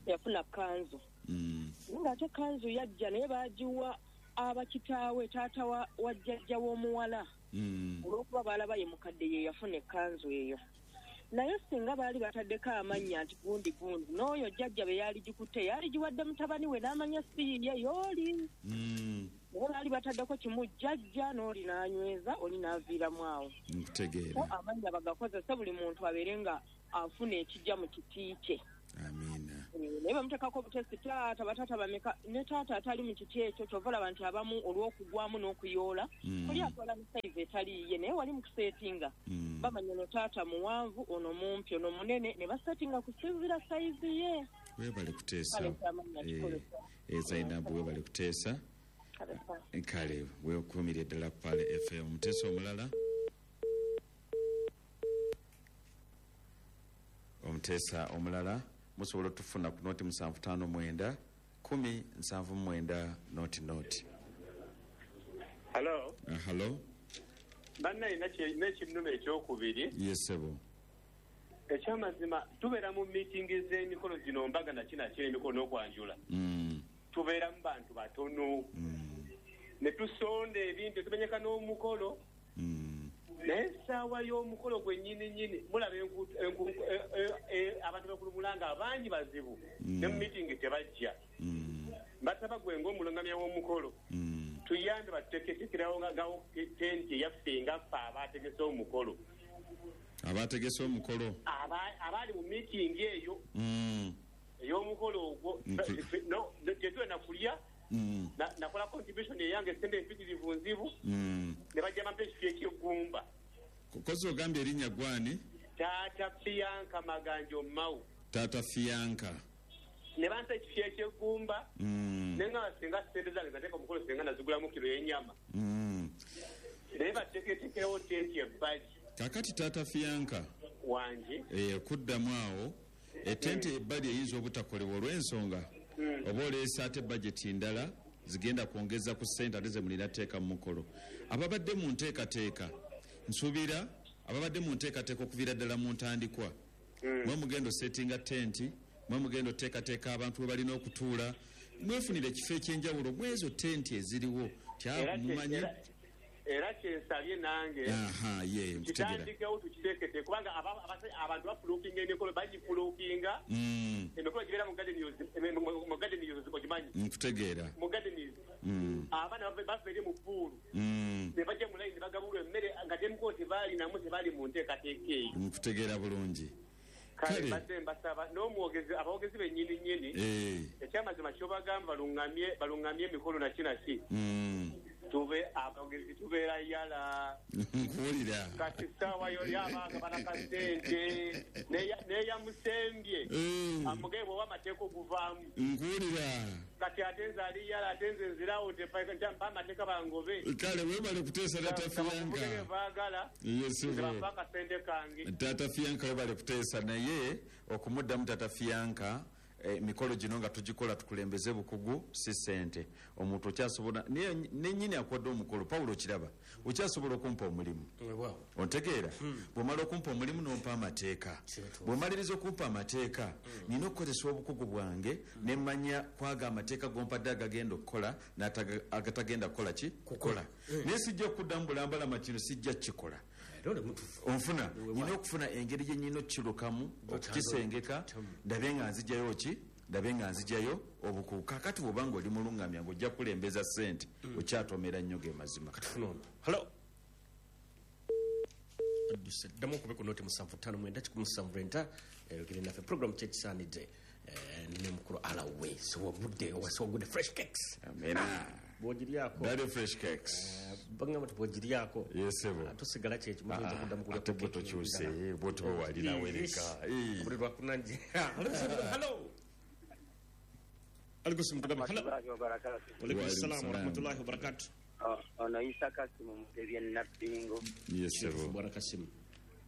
[SPEAKER 7] Yafuna kanzu. Ng'ate kanzu yajja naye baagiwa abakitaawe taata wa jjajja w'omuwala. Olw'okuba baalaba ye mukadde ye yafuna ekkanzu eyo. Naye singa baali bataddeko amannya nti gundi gundi n'oyo jjajja be yaali gikutte yaali giwadde mutabani we n'amanya si ye y'oli. Naye baali bataddeko kimu jjajja n'oli n'anyweza oli n'aviiramu awo.
[SPEAKER 1] Nkutegeera.
[SPEAKER 7] Amannya bagakozese buli muntu abeere nga afuna ekijja mu kiti kye.
[SPEAKER 1] Amiina.
[SPEAKER 7] Naye bamuteekako obutesi taata bataata bameka ne taata atali mu kiti ekyo kyova olaba nti abamu olw'okugwamu n'okuyoola oli atwala ne sayizi etali yiye naye wali mu kuseetinga bamanya ono taata muwanvu ono mumpi ono munene ne baseetinga kusinziira sayizi ye.
[SPEAKER 1] Weebale kuteesa. Zainabu weebale kuteesa. Kale weekuumire ddala ku Pale FM. Omuteesa omulala. Omuteesa omulala musobola otufuna ku noti 759 10 79 00.
[SPEAKER 6] Hello.
[SPEAKER 1] Hello.
[SPEAKER 6] Bannaye n'ekinnuma ekyokubiri.
[SPEAKER 1] Yes sebo.
[SPEAKER 6] Ekyamazima tubeera mu miitingi z'emikolo gino mbaga na kina ky'emikolo n'okwanjula. Tubeera mu bantu batono. Ne tusonda ebintu tumenyeka n'omukolo. Naye essaawa y'omukolo gwe nnyini nnyini mulaba abantu bakulumulanga abangi bazibu ne mu miitingi tebajja. Basaba gwe ng'omulungamya w'omukolo tuyambe batuteeketeekerawo ngawo tenti eyaffe nga ffe abaategese omukolo.
[SPEAKER 1] Abaategese omukolo?
[SPEAKER 6] Abaali mu miitingi eyo ey'omukolo ogwo tetulina kulya. Nakola contribution eyange sente empitirivu nzibu ne bajja bampa ekifo eky'eggumba.
[SPEAKER 1] Kozi ogambye erinnya gwani?
[SPEAKER 6] Taata Fianka Maganjo Mau.
[SPEAKER 1] Taata Fianka.
[SPEAKER 6] Ne bampa ekifo eky'eggumba ne ngamba singa ssente zange zateeka omukolo singa nazigulamu kiro y'ennyama. Naye bateeketeekerewo tenti ebbali.
[SPEAKER 1] Kaakati Taata Fianka
[SPEAKER 6] wange
[SPEAKER 1] kuddamu awo etenti ebbali eyinza obutakolebwa olw'ensonga oba oleese ate bajeti ndala zigenda kwongeza ku ssente ate ze mulina tteeka mu mukolo. Ababadde mu nteekateeka nsuubira ababadde mu nteekateeka okuviira ddala mu ntandikwa mwe mugenda osetinga tenti, mwe mugenda oteekateeka abantu we balina okutuula, mwefunire ekifo eky'enjawulo mwezo tenti eziriwo tyamumanyi.
[SPEAKER 6] Era kyensabye nange kitandikewo tukiteekete kubanga abantu bafuluukinga emikolo bagifuluukinga emikolo gibeera mu garden news ogimanyi.
[SPEAKER 1] Nkutegeera.
[SPEAKER 6] Mu garden news abaana bava eri mu ppuulu ne bajja mu layini ne bagabulwa emmere nga temukolo tebaalinamu tebaali mu nteekateeka eyo.
[SPEAKER 1] Nkutegeera bulungi.
[SPEAKER 6] Kale mbadde mbasaba n'omwogezi abawogezi bennyini nnyini ekyamazima ky'obagamba balungamye emikolo naki naki. Tube abogezi tubeera yala.
[SPEAKER 1] Nkuwulira.
[SPEAKER 6] Kati ssaawa yo y'abaana banakasente neyamusembye amugaye bw'oba amateeka oguvaamu.
[SPEAKER 1] Nkuwulira.
[SPEAKER 6] Kati ate nze ali yala ate nze nzirawo mpa amateeka bangobe.
[SPEAKER 1] Kale weebale kuteesa Taata Fianka.
[SPEAKER 6] Baagala nze bampa akasente kange.
[SPEAKER 1] Taata Fianka weebale kuteesa naye okumuddamu Taata Fianka emikolo gino nga tugikola tukulembeze bukugu si ssente. Omuntu okyasobola nennyini akwadde omukolo Pawulo kiraba okyasobola okumpa omulimu. Ontegeera? Bw'omala okumpa omulimu n'ompa amateeka. Bw'omaliriza okumpa amateeka nina okukozesa obukugu bwange ne mmanya kwaga amateeka gompadde agagenda okukola agatagenda kukola ki? Kukola. Naye sijja okuddamu bulambalama kino sijja kukikola. Onfuna nina okufuna engeri gye nnina okukirukamu okukisengeka ndabe nga nzigyayo ki ndabe nga nzigyayo obukugu. Kaakati bw'oba nga oli mulungamya ng'ojja kukulembeza ssente okyatomera nnyo ge mazima.
[SPEAKER 5] Hello. Ddamu okube ku noti 759 179 ogende naffe program kyekisaanidde n'omukulu Alawe siwagudde wasiwagudde fresh cakes.
[SPEAKER 1] Amina.
[SPEAKER 5] Bw'ogiryako.
[SPEAKER 1] Daddy fresh cakes.
[SPEAKER 5] Bagamba nti bw'ogiryako.
[SPEAKER 1] Yes sebo.
[SPEAKER 5] Tusigala kyekyo muyinza kuddamu kulya
[SPEAKER 1] ate bwe tokyuse bw'otuba walinawereka.
[SPEAKER 5] Buli lwakunanje. Hello. Alikusimu tugambe. Hello. Walaikum salaam wa rahmatullahi wa barakatuh.
[SPEAKER 8] Ono Isa Kasimu Mutebi Nabbingo.
[SPEAKER 1] Yes sebo.
[SPEAKER 5] Bwana Kasimu.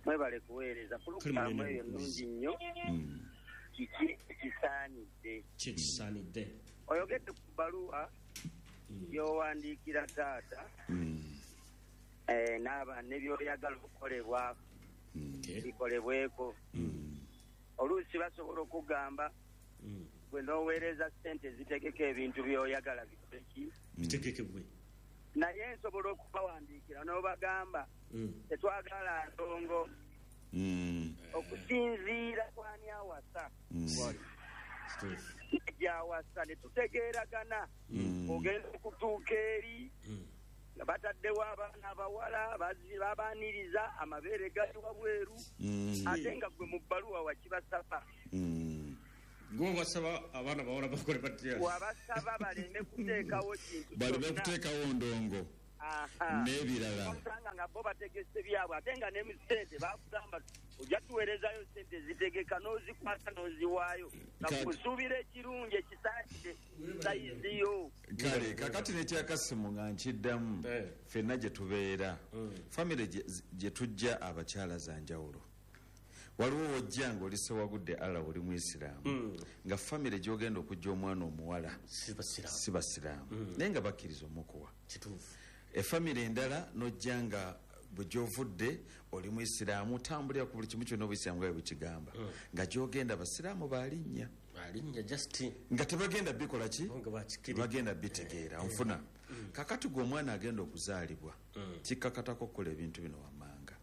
[SPEAKER 8] Mwebale kuweereza pulogulaamu eyo nnungi nnyo. Kiki ekisaanidde?
[SPEAKER 5] Kikisaanidde.
[SPEAKER 8] Oyogedde ku bbaluwa. By'owandiikira taata n'aba ne by'oyagala okukolebwa bikolebweko. Oluusi basobola okugamba gwe n'oweereza ssente zitegeka ebintu by'oyagala bikole ki?
[SPEAKER 5] Bitegekebwe.
[SPEAKER 8] Naye nsobola okubawandiikira n'obagamba tetwagala ndongo okusinziira kwani awasa. Gyawasa ne tutegeeragana. Ogenda okutuuka eri nga bataddewo abaana abawala babaaniriza amabeere gali wabweru ate nga gwe mu bbaluwa wakibasaba.
[SPEAKER 5] Gwe wasaba abaana bawala bakole batya?
[SPEAKER 8] Wabasaba baleme kuteekawo kintu
[SPEAKER 1] baleme kuteekawo ndongo n'ebirala.
[SPEAKER 8] Osanga nga bo bategese byabwe ate nga ne ssente bakugamba ojja tuweerezayo ssente zitegeka n'ozikwata n'oziwaayo nga kusuubira ekirungi ekisaakire sayiziyo.
[SPEAKER 1] Kale kakati n'ekyakasimu nga nkiddamu ffenna gye tubeera famire gye tujja abakyala za njawulo. Waliwo wojja ng'oli Ssewagudde Allah oli Muisiraamu nga famire gy'ogenda okujja omwana omuwala si basiraamu naye nga bakkiriza omukuwa. Efamire endala n'ojja nga bwe gy'ovudde oli Muisiraamu otambulira ku buli kimu kyonna obuyisiraamu nga bwe bukigamba nga gy'ogenda basiraamu balinnya nga tebagenda bikola ki? Bagenda bitegeera nfuna. Kakati gwe omwana agenda okuzaalibwa kikkakatako okukola ebintu bino wammanga.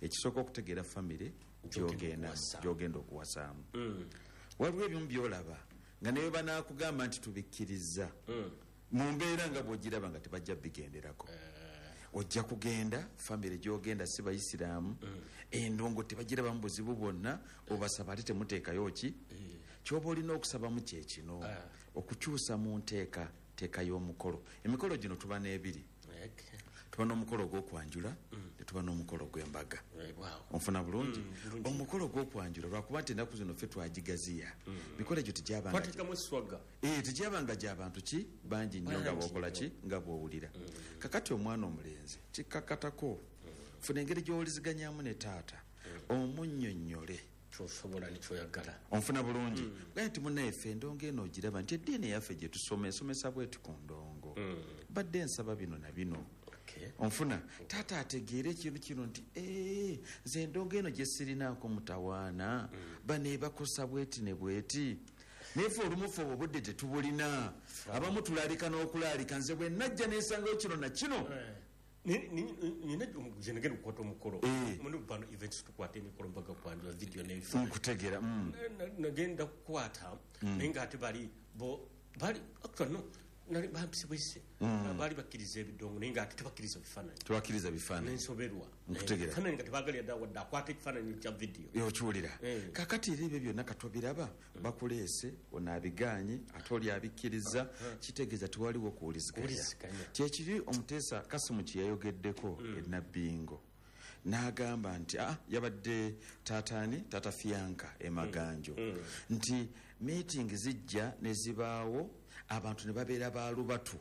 [SPEAKER 1] Ekisooka okutegeera famire gy'ogenda okuwasaamu. Waliwo ebimu by'olaba nga ne bwe banaakugamba nti tubikkiriza mu mbeera nga bw'ogiraba nga tebajja bigenderako. Ojja kugenda famire gy'ogenda si bayisiraamu endongo tebagirabamu buzibu bwonna obasaba ate temuteekayo ki? Ky'oba olina okusabamu kye kino okukyusa mu nteekateeka y'omukolo. Emikolo gino tuba n'ebiri. Tuba n'omukolo ogw'okwanjula ne tuba n'omukolo ogw'embaga. Onfuna bulungi? Omukolo ogw'okwanjula lwakuba nti ennaku zino ffe twagigaziya. Mikolo egyo tegyabanga gy'abantu ki bangi nnyo nga bw'okola ki nga bw'owulira. Kakati omwana omulenzi kikkakatako funa engeri gy'owuliziganyamu ne taata omunnyonnyole
[SPEAKER 5] kyosobola ne kyoyagala.
[SPEAKER 1] Onfuna bulungi? Gaye nti munnaye ffe endongo eno ogiraba nti eddiini yaffe gye tusoma esomesa bweti ku ndongo. Badde nsaba bino na bino. Onfuna taata ategeere ekintu kino nti nze endongo eno gye sirinaako mutawaana bano ebakosa bweti ne bweti. Naye ffe olumu ffe obudde tetubulina. Abamu tulaalika n'okulaalika nze bwe najja nensangayo kino na kino.
[SPEAKER 5] Nina nagenda okukwata omukolo muno bano events tukwata emikolo mbaga kwanjula video n'ebifaananyi.
[SPEAKER 1] Nkutegeera.
[SPEAKER 5] Nagenda kukwata naye ng'ate bali bo bali actually no nali bampise bwise baali bakkiriza ebidongo naye ng'ate tebakkiriza bifaananyi.
[SPEAKER 1] Tebakkiriza bifaananyi.
[SPEAKER 5] Nensoberwa.
[SPEAKER 1] Nkutegeera.
[SPEAKER 5] Ebifaananyi nga tebaagalira ddala wadde akwata ekifaananyi kya video.
[SPEAKER 1] Okiwulira. Kakati era ebyo byonna katobiraba bakuleese ono abigaanye ate oli abikkiriza kitegeeza tewaliwo kuwuliziganya. Kyekiri omuteesa Kasimu kye yayogeddeko e Nabbingo n'agamba nti yabadde taataani taata Fianka e Maganjo nti meeting zijja ne zibaawo abantu ne babeera baalubatu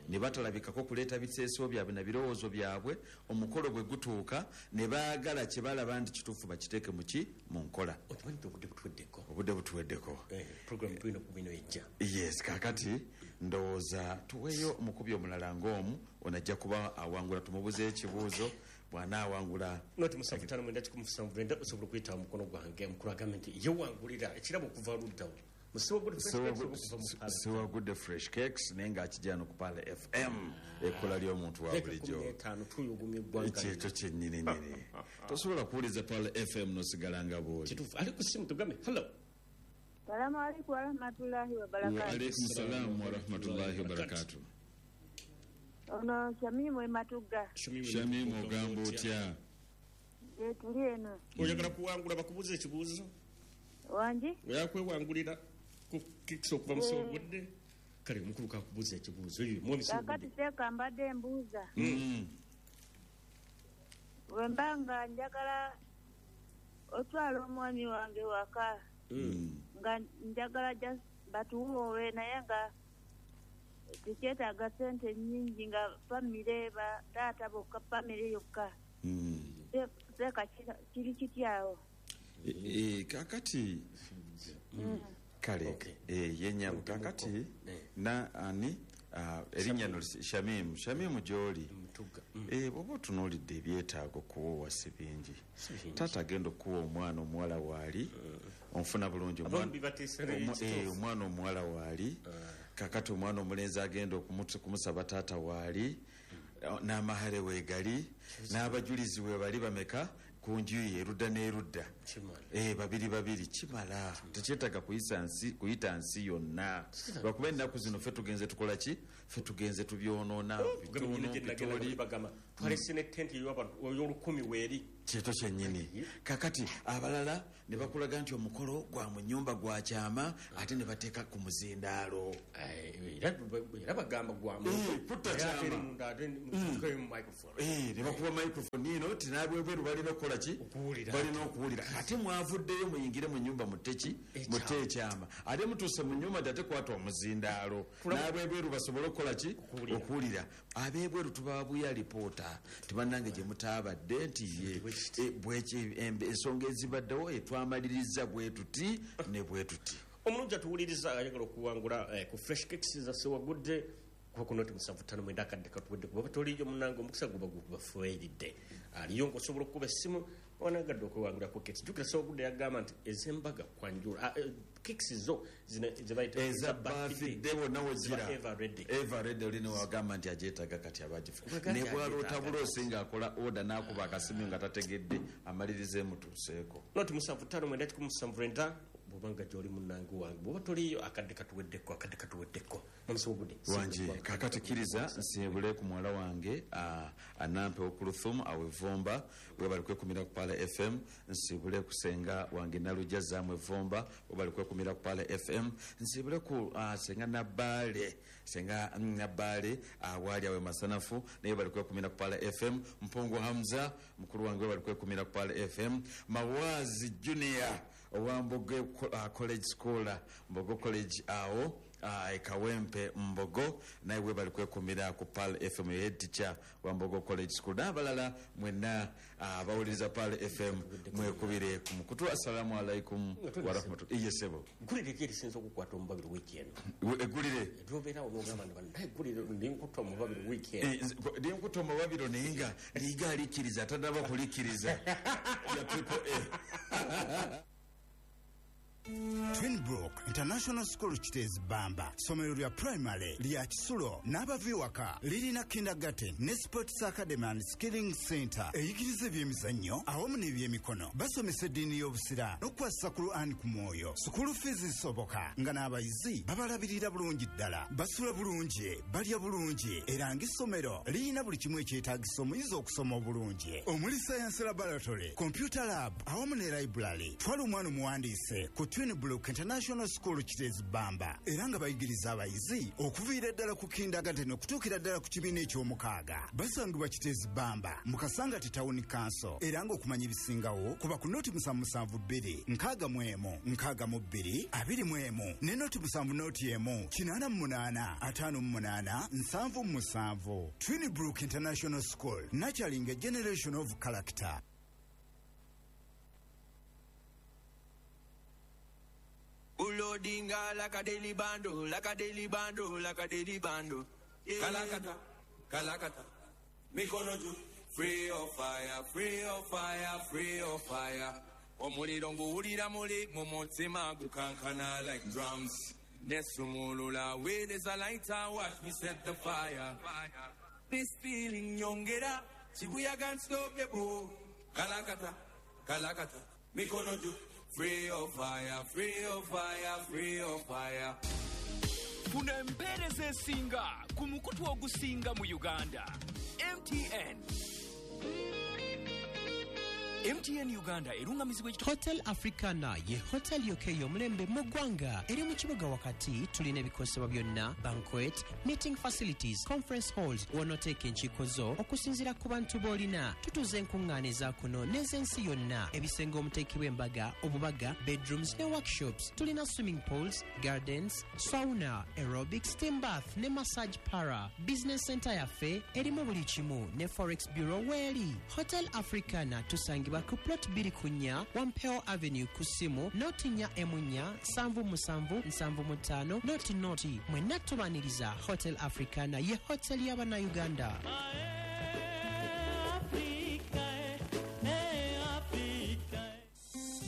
[SPEAKER 1] ne batalabikako kuleeta biteeso byabwe na birowoozo byabwe. Omukolo bwe gutuuka ne baagala kye balaba nti kituufu bakiteeke mu ki mu nkola.
[SPEAKER 5] Okimanyi nti obudde butuweddeko.
[SPEAKER 1] Obudde butuweddeko.
[SPEAKER 5] Program tulina kubino ejja.
[SPEAKER 1] Yes, kakati ndowooza tuweeyo omukubi omulala ng'omu ono ajja kuba awangula tumubuze ekibuuzo bw'anaawangula.
[SPEAKER 5] Noti 759 osobola okuyita mukono gwange omukulu agambe nti ye wangulira ekirabo okuva luddawo.
[SPEAKER 1] Siwagudde Fresh Cakes naye ng'akijja no ku Pearl FM ekkola ly'omuntu wa bulijjo. Ekyekyo kyennyini nnyini. Tosobola kuwuliza Pearl FM n'osigala nga bw'oli.
[SPEAKER 5] Kituufu. Ali ku ssimu tugambe hello.
[SPEAKER 9] Salamu alaikum warahmatullahi wabarakatuh.
[SPEAKER 1] Wa alaikum salam warahmatullahi wabarakatuh.
[SPEAKER 9] Ono Shamimu Ematuga.
[SPEAKER 1] Shamimu ogamba otya?
[SPEAKER 9] Tuli eno.
[SPEAKER 5] Oyagala kuwangula bakubuuza ekibuuzo?
[SPEAKER 9] Wangi?
[SPEAKER 5] Oyagala kwewangulira ku kikisa okuva mu Ssewagudde? Kale omukulu kakubuuza ekibuuzo.
[SPEAKER 9] Kakati seeka mbadde mbuuza. Bwe mba nga njagala otwala omwami wange waka nga njagala batuwoowe naye nga tekyetaaga ssente nnyingi nga famire ba taata bokka famire yokka. Seeka kiri kityawo?
[SPEAKER 1] Kakati kale yenyabo kakati na ani Erinnya no Shamimu, Shamimu gy'oli, bw'oba otunuulidde ebyetaago kuwowa si bingi. Taata agenda okuwa omwana omuwala waali, onfuna bulungi, omwana omuwala waali, kakati omwana omulenzi agenda okumusaba taata waali, n'amahare weegali, n'abajulizi we bali bameka ku njuyi erudda n'erudda, babiri babiri, kimala. Tekyetaaga kuyita nsi yonna, lwakuba ennaku zino ffe tugenze tukola ki? Ffe tugenze tubyonoona bitono.
[SPEAKER 5] Twalese ne tenti y'olukumi weeri
[SPEAKER 1] kyeto kyennyini. Kakati abalala ne bakulaga nti omukolo gwa mu nnyumba gwa kyama, ate ne bateeka ku muzindaalo.
[SPEAKER 5] Era bagamba
[SPEAKER 1] gwa kyama ne bakuba microphone eno ti n'abwebweru balina okukola ki? Balina okuwulira. Ate mwavuddeyo muyingire mu nnyumba mutte ki? Mutte ekyama. Ate mutuuse mu nnyumba nti ate kwata omuzindaalo n'abwebweru basobole okukola ki? Okuwulira. Ab'ebweru tubabuya alipoota tibannange gye mutaabadde nti ye ensonga ezibaddewo etwamaliriza bwe tuti ne bwe tuti.
[SPEAKER 5] Omulungi atuwuliriza ayagala okuwangula ku Fresh Cakes za Sewagudde kuba ku noti 759 akadde katuwedde, kuba toliiyo munnange omukisa guba gubafueridde. Aliyo ng'osobola okukuba essimu wanagadde okwewangula ku cakes. Jjukira Sewagudde yagamba nti ez'embaga kwanjula cakes zo zebayita
[SPEAKER 1] eza birthday wonna wegira ever ready, oli newagamba nti agyetaaga kati abagifu ne bwaloota buloosi ng'akola order n'akuba akasimu nga tategedde amaliriza emutuuseeko.
[SPEAKER 5] Noti 759 bw'obanga gy'oli munnange wange, bw'oba toliiyo akadde katuweddeko, akadde katuweddeko.
[SPEAKER 1] Wangi kakati kkiriza nsiibule ku muwala wange Anampe Okuluthum awevomba webali kwekumira ku Pala FM. Nsiibule ku senga wange Nalujja Zamu Evomba webali kwekumira ku Pala FM. Nsiibule ku senga Nabbaale, senga Nabbaale awaali awe Masanafu naye bali kwekumira ku Pala FM. Mpungu Hamza mukulu wange webali kwekumira ku Pala FM. Mawazi Junior owa Mbogo College School, Mbogo College awo Kawempe Mbogo naye webali kwekumira ku Pearl FM, head teacher wa Mbogo College School n'abalala mwenna abawuliriza Pearl FM mwekubire ku mukutu. Assalamu alaikum wa rahmatullahi. Iye sebo,
[SPEAKER 5] eggulire ki erisinza okukwata omubabiri wiiki eno?
[SPEAKER 1] Eggulire
[SPEAKER 5] lyobeerawo n'ogamba nti bannaye eggulire ndinkutta omubabiri wiiki eno,
[SPEAKER 1] ndinkutta omubabiro naye nga liiga alikkiriza tannaba kulikkiriza ya Triple A.
[SPEAKER 10] Twinbrook International School Kiteezi Bamba, ssomero lya primary lya kisulo n'abava ewaka, lirina kindergarten ne sports academy and skilling center eyigiriza ebyemizannyo awamu n'ebyemikono. Basomesa eddiini y'obusiraamu n'okukwasisa Quran ku mwoyo. Sukulu fees zisoboka nga n'abayizi babalabirira bulungi ddala, basula bulungi, balya bulungi, era ng'essomero lirina buli kimu ekyetaagisa omuyizi okusoma obulungi, omuli science laboratory, computer lab awamu ne library. Twala omwana omuwandiise ku Twinbrook International School Kiteezi Bamba, era nga bayigiriza abayizi okuviira ddala ku kindergarten okutuukira ddala ku kibiina eky'omukaaga. Basangibwa Kiteezi Bamba mu Kasangati Town Council, era ng'okumanya ebisingawo kuba ku noti 772 61 62 21 ne noti 7 noti 1 88 58 77. Twinbrook International School, nurturing a generation of character.
[SPEAKER 11] Ulodinga like a daily bando, like a daily bando, like a daily bando. Yeah. Kalakata, kalakata. Mikono juu. Free of fire, free of fire, free of fire. Omuliro nguwulira muli mu mutima gukankana like drums. Nesumulula with is a lighter, watch me set the fire. This feeling nyongera, chibuya can't stop the boo. Kalakata, kalakata. Mikono juu. Free of fire, free of fire, free of fire.
[SPEAKER 4] Funa empeereza esinga ku mukutu ogusinga mu Uganda. MTN. MTN Uganda erungamizibwa
[SPEAKER 12] Hotel Africana ye hotel yokka ey'omulembe mu ggwanga eri mu kibuga wakati. Tulina ebikozesebwa byonna, banquet, meeting facilities, conference halls w'onooteeka enkiiko zo okusinziira ku bantu b'olina. Tutuuza enkuŋŋaana eza kuno n'ez'ensi yonna, ebisenge omuteekebwa embaga, obubaga, bedrooms ne workshops. Tulina swimming pools, gardens, sauna, aerobics, steam bath ne massage para. Business center yaffe erimu buli kimu ne forex bureau weeri. Hotel Africana tusangibwa Tusangibwa ku plot 24 Wampeo Avenue ku ssimu 04 77 75 00. Mwenna tubaniriza Hotel Africana ye hotel y'Abannayuganda.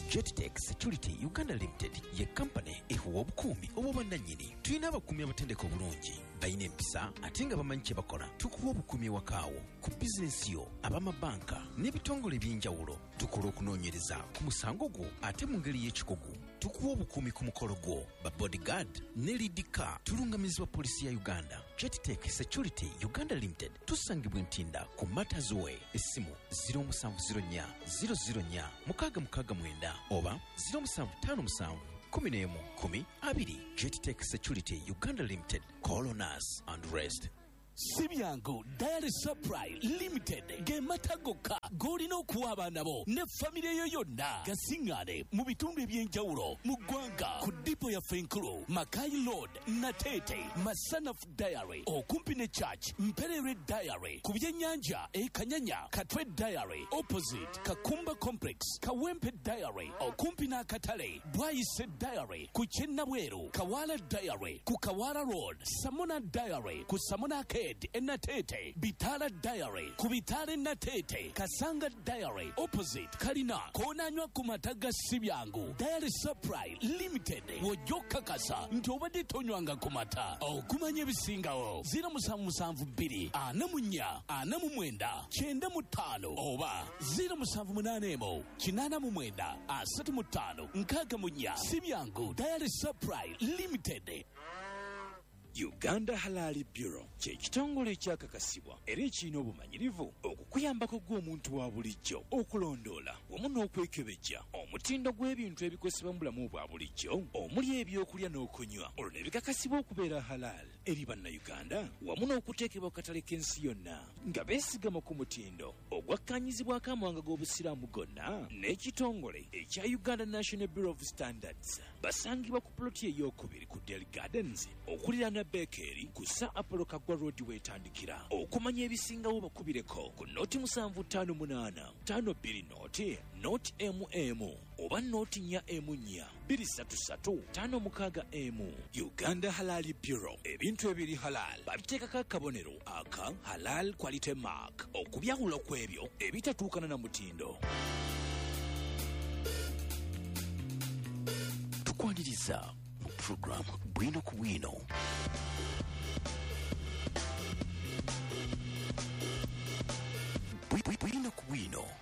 [SPEAKER 13] Jettech Security Uganda Limited ye kampani ekuwa obukuumi obw'obwannannyini. Tulina abakuumi abatendeka obulungi, balina empisa ate nga bamanyi kye bakola. Tukuwa obukuumi ewakaawo, ku bizinensi yo, ab'amabanka n'ebitongole eby'enjawulo. Tukola okunoonyereza ku musango gwo ate mu ngeri y'ekikugu. Tukuwa obukuumi ku mukolo gwo, ba bodyguard ne lead car. Tulungamizibwa poliisi ya Uganda. Jettech Security Uganda Limited tusangibwa Ntinda ku Matters Way. Essimu 0704 004 669 oba 0757 11 10 20. Jettech Security Uganda Limited. Call on us and rest.
[SPEAKER 2] Si byangu Dairy Supply Limited ge mata gokka g'olina okuwa abaana bo ne famire yo yonna gasiŋŋaane mu bitundu eby'enjawulo mu ggwanga ku dipo yaffe enkulu Makai Road, Nateete, Masanaf Dairy okumpi ne Church, Mpererwe Dairy ku byennyanja e Kanyanya, Katwe Dairy opposite Kakumba Complex, Kawempe Dairy okumpi n'akatale, Bwayise Dairy ku Kyennabweru, Kawala Dairy ku Kawala Road, Samona Dairy ku Samona Arcade Enatete, Bitala Dairy ku Bitala Enatete, Kasanga Dairy opposite Kalina, koonanywa ku mata ga Sibyangu Dairy Supply Limited. Wojja okukakasa nti obadde tonywanga ku mata. Okumanya ebisingawo 0772 44 49 95 oba 0781 89 35 64. Sibyangu Dairy Supply Limited.
[SPEAKER 14] Uganda Halal Bureau kye kitongole ekyakakasibwa era ekirina obumanyirivu okukuyambako gw'omuntu wa bulijjo okulondoola wamu n'okwekebejja omutindo gw'ebintu ebikozesebwa mu bulamu bwa bulijjo omuli ebyokulya n'okunywa olwo ne bikakasibwa okubeera halal eri Bannayuganda wamu n'okuteekebwa ku katale k'ensi yonna nga beesigama ku mutindo ogwakkaanyizibwako amawanga g'Obusiraamu gonna n'ekitongole ekya Uganda National Bureau of Standards. Basangibwa ku ploti ey'okubiri ku Del Gardens okuliraana Bekeri ku Sir Apollo Kaggwa Road weetandikira. Okumanya ebisingawo bakubireko ku noti 758 52 0 0 MM oba noti 4 4 233 56 M. Uganda Halal Bureau, ebintu ebiri halal babiteekako akabonero aka Halal Quality Mark okubyawula ku ebyo ebitatuukana na mutindo.
[SPEAKER 13] Tukwaniriza mu program Bwino ku Bwino. Bwino ku Bwino.